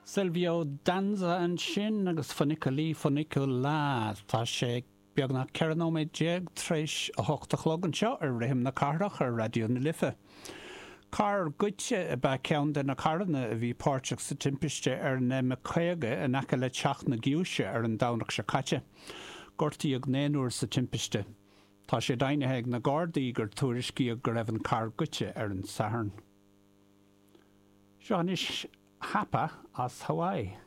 Silvio Danza ansin agus Funiculì Funiculà. Tá sé beagnach 14 nóiméad tar éis a hocht a chlog anseo ar Rithim na Cathrach ar Raidió na Life. Carr goidte ab ea ceann de na carranna a bhí páirteach sa timpiste ar an M50 in aice le Teach na Giúise ar an Domhnach seo caite. Gortaíodh naonúr sa timpiste. Tá sé deimhnithe ag na Gardaí gur tuairiscíodh go raibh an carr goidte ar an Satharn. Seo anois Hapa as Hawaii.